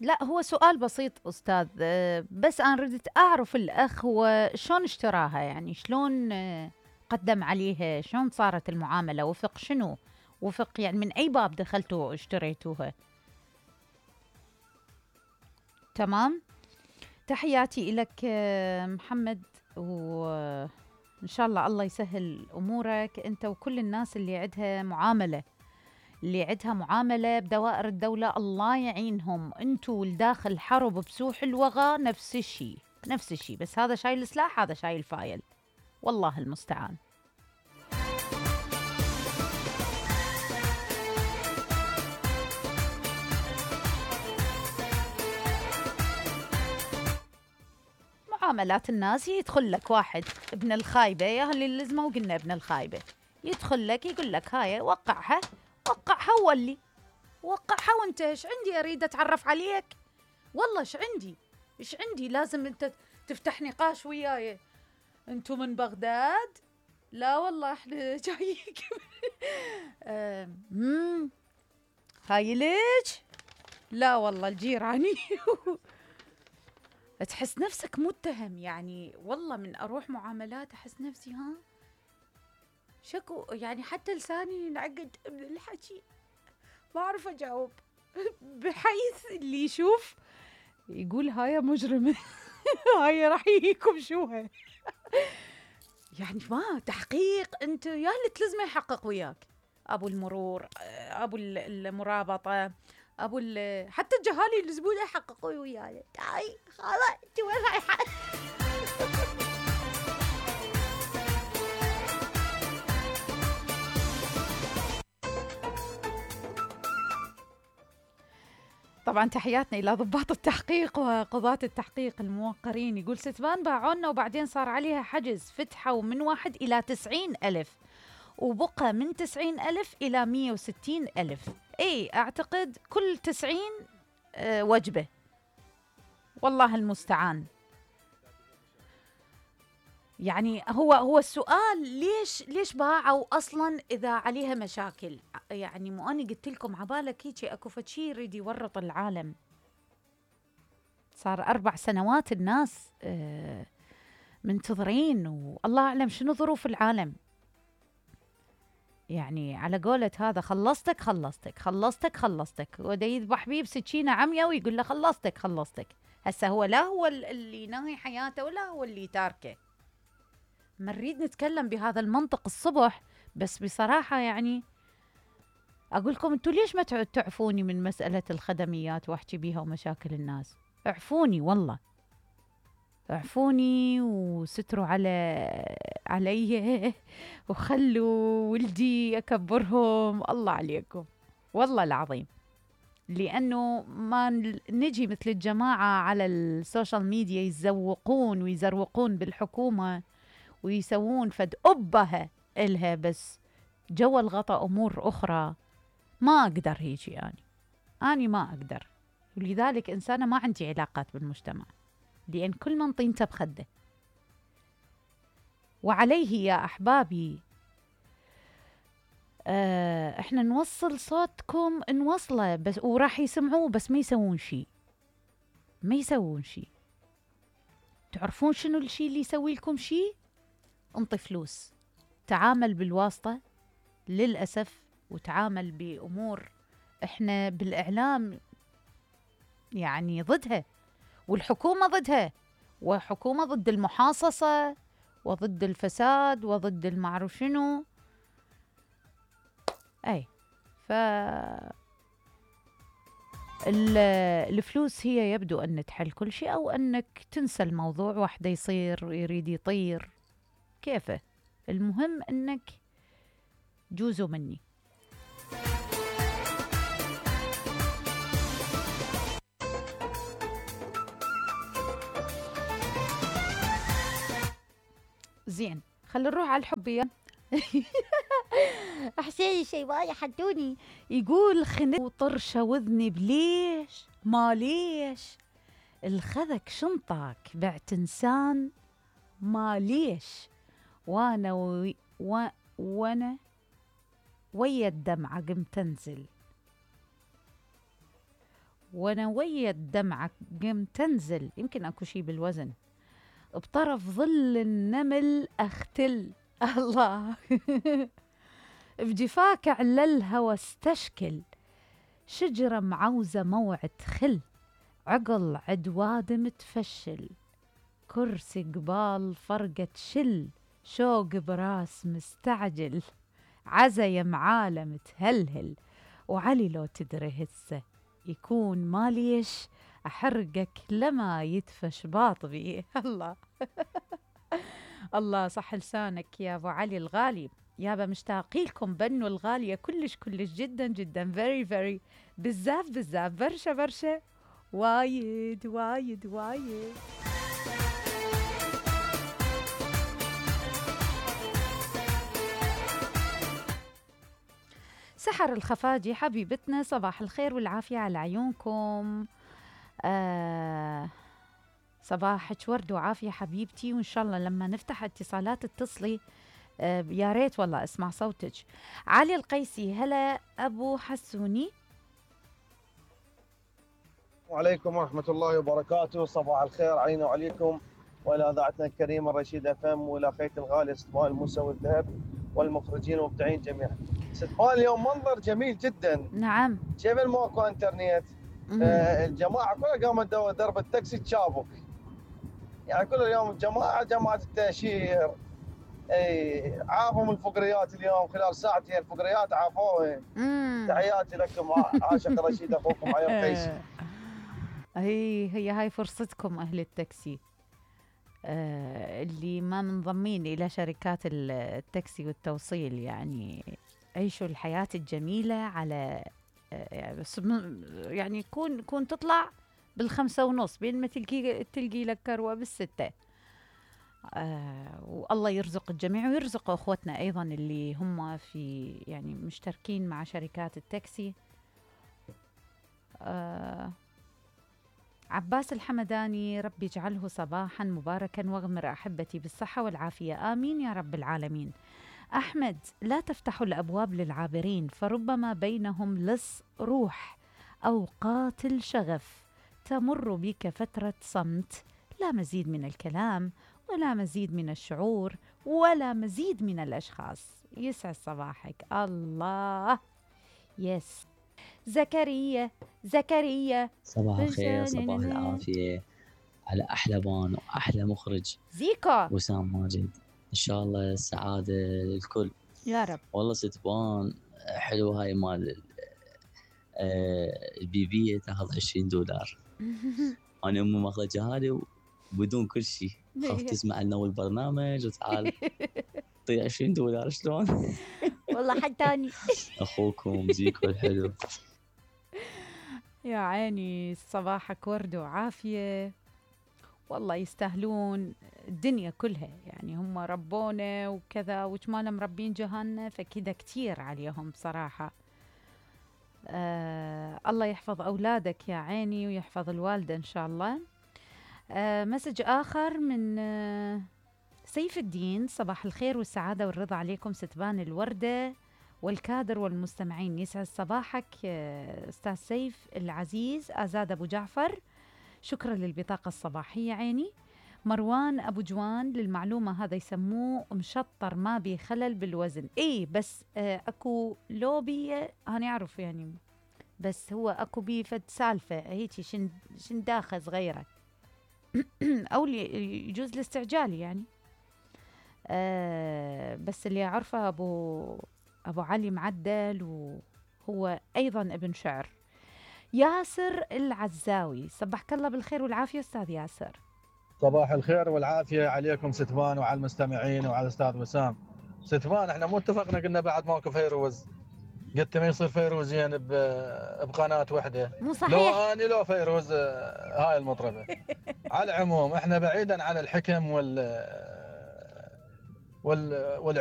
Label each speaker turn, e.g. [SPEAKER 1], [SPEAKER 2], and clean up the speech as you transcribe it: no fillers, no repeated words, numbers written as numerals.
[SPEAKER 1] لا هو سؤال بسيط أستاذ، بس أنا ردت أعرف الأخ هو شلون اشتراها، يعني شلون قدم عليها، شلون صارت المعاملة، وفق شنو، وفق يعني من أي باب دخلتوا واشتريتوها. تمام. تحياتي إلك محمد، وإن شاء الله الله يسهل أمورك أنت وكل الناس اللي عندها معاملة، اللي عندها معاملة بدوائر الدولة، الله يعينهم. انتوا والداخل حرب بسوح الوغى نفس الشيء نفس الشيء، بس هذا شايل سلاح هذا شايل فايل، والله المستعان. معاملات الناس، يدخل لك واحد ابن الخايبة، يا اللي اللزمة وقلنا ابن الخايبة، يدخل لك يقول لك هاي وقعها، وقعها وولي، وقعها وانت ايش عندي اريد اتعرف عليك، والله ايش عندي لازم انت تفتح نقاش وياي، انتم من بغداد؟ لا والله احنا جايين. هاي ليش؟ لا والله الجيراني. تحس نفسك متهم، يعني والله من اروح معاملات احس نفسي شكو، يعني حتى لساني ينعقد من الحكي، ما اعرف اجاوب. بحيث اللي يشوف يقول هاي مجرمة. هاي راح يجيكم شوها. يعني ما تحقيق، انت يا اللي تلزمه يحقق وياك، ابو المرور، ابو المرابطة، ابو حتى الجهالي يلزمونه يحققوا وياي. تعي خلاص انت وين رايحة؟ طبعا تحياتنا إلى ضباط التحقيق وقضاة التحقيق الموقرين. يقول ستبان باعونا وبعدين صار عليها حجز، فتحوا من 1 إلى 90,000 وبقى من 90,000 إلى 160,000. اي اعتقد كل 90 وجبة، والله المستعان. يعني هو السؤال ليش باعوا اصلا اذا عليها مشاكل؟ يعني مو اني قلت لكم عبالك هيك اكو فشي يريد يورط العالم. صار 4 سنوات الناس منتظرين، والله اعلم شنو ظروف العالم. يعني على قولة هذا خلصتك ودا يذبح بيه بسكينة عمية ويقول له خلصتك. هسه هو لا هو اللي ناهي حياته ولا هو اللي تاركه. ما نريد نتكلم بهذا المنطق الصبح، بس بصراحة يعني أقول لكم أنتوا ليش ما تعفوني من مسألة الخدميات وأحكي بيها ومشاكل الناس؟ اعفوني والله، اعفوني وستروا علي وخلوا ولدي أكبرهم، الله عليكم والله العظيم. لأنه ما نجي مثل الجماعة على السوشيال ميديا يزوقون ويزروقون بالحكومة ويسوون فد أبها إلها، بس جوا الغطاء أمور أخرى ما أقدر هيجي يعني. أنا ما أقدر، ولذلك إنسانة ما عندي علاقات بالمجتمع، لأن كل من طينته بخده. وعليه يا أحبابي إحنا نوصل صوتكم، نوصله بس وراح يسمعوه، بس ما يسوون شي. تعرفون شنو الشي اللي يسوي لكم شي؟ انطي فلوس، تعامل بالواسطة للأسف، وتعامل بأمور إحنا بالإعلام يعني ضدها، والحكومة ضدها، وحكومة ضد المحاصصة وضد الفساد وضد المعروف شنو. أي الفلوس هي يبدو أن تحل كل شيء، أو أنك تنسى الموضوع، واحدة يريد يطير كيفه، المهم أنك جوزوا مني. زين خلي نروح على الحبية. أحسن شيء ما يحدوني. يقول خنت وطرشة وذني بليش ما ليش الخذك شنطك بعت إنسان ما ليش، وانا ويا الدمعة قم تنزل، ونوية دمعة قم تنزل، يمكن أكو شي بالوزن، بطرف ظل النمل أختل. الله. بجفاك عللها واستشكل، شجرة معوزة موعد خل، عقل عدواد متفشل، كرسي قبال فرقة شل، شوق براس مستعجل، عزا يا معالم تهلهل، وعلي لو تدري هسه يكون ماليش أحرقك لما يدفش باطبي. الله. الله صح لسانك يا أبو علي الغالي. يابا مشتاقي لكم بنو الغالية كلش كلش جدا جدا، very very، بزاف بزاف، برشا برشا، وايد وايد وايد. سحر الخفاجي حبيبتنا، صباح الخير والعافية على عيونكم. صباحك ورد وعافية حبيبتي، وإن شاء الله لما نفتح اتصالات اتصلي، يا ريت والله اسمع صوتك. علي القيسي، هلا أبو حسوني.
[SPEAKER 2] وعليكم ورحمة الله وبركاته، صباح الخير علينا وعليكم وإلى إذاعتنا الكريمة رشيد FM، وإلى أخيتي الغالية ستفان الموسى والذهب، والمخرجين والمبدعين جميعا. ستفان اليوم منظر جميل جدا.
[SPEAKER 1] نعم.
[SPEAKER 2] جبل ماكو انترنت، الجماعة كلها قامت درب التاكسي تشابك، يعني كل اليوم جماعة التأشير عافوا من الفقريات اليوم، خلال ساعتين الفقريات عافوها. تحياتي لكم، عاشق رشيد أخوكم علي القيسي.
[SPEAKER 1] هي هاي فرصتكم أهل التاكسي، اللي ما منضمين إلى شركات التاكسي والتوصيل، يعني عيشوا الحياة الجميلة على يعني كون تطلع بال5:30 بين ما تلقي لك كروة بال6. والله يرزق الجميع، ويرزق أخوتنا أيضا اللي هم في يعني مشتركين مع شركات التاكسي. عباس الحمداني، ربي يجعله صباحا مباركا واغمر أحبتي بالصحة والعافية، آمين يا رب العالمين. أحمد، لا تفتحوا الأبواب للعابرين، فربما بينهم لص روح أو قاتل شغف، تمر بك فترة صمت، لا مزيد من الكلام ولا مزيد من الشعور ولا مزيد من الأشخاص. يسعد صباحك. الله. يس. زكريا
[SPEAKER 3] صباح الخير، صباح العافية على أحلى بان وأحلى مخرج
[SPEAKER 1] زيكو
[SPEAKER 3] وسام ماجد، إن شاء الله السعادة للكل
[SPEAKER 1] يا رب.
[SPEAKER 3] والله ستبان حلوة هاي مال البيبية تاخذ $20. أنا أمي ماخذة جهالي بدون كل شيء، خاف تسمع لنا أول برنامج وتعال طي $20 شلون؟
[SPEAKER 1] والله حتاني.
[SPEAKER 3] أخوكم زيكو الحلو.
[SPEAKER 1] يا عيني صباحك ورد وعافية، والله يستاهلون الدنيا كلها، يعني هم ربونا وكذا، وجمالا مربين جهالنا، فكذا كتير عليهم بصراحة. الله يحفظ أولادك يا عيني، ويحفظ الوالدة إن شاء الله. مسج آخر من سيف الدين، صباح الخير والسعادة والرضا عليكم ستبان الوردة والكادر والمستمعين، يسعد صباحك أستاذ سيف العزيز. آزاد أبو جعفر، شكرا للبطاقة الصباحية عيني. مروان أبو جوان، للمعلومة هذا يسموه مشطر ما بي خلل بالوزن، بس أكو لوبي أنا أعرف يعني، بس هو أكو بي فد سالفة هيتي شنداخة صغيرة أو يجوز الاستعجال يعني. بس اللي أعرفه أبو علي معدل، وهو أيضا ابن شعر. ياسر العزاوي، صبحك الله بالخير والعافية أستاذ ياسر.
[SPEAKER 4] صباح الخير والعافية عليكم ستفان وعلى المستمعين وعلى الأستاذ وسام. ستفان احنا مو اتفقنا قلنا بعد ماكو فيروز، قلت ما يصير فيروزين بقناة واحدة،
[SPEAKER 1] مو صحيح.
[SPEAKER 4] لو أنا لو فيروز هاي المطربة. على العموم احنا بعيدا عن الحكم والعب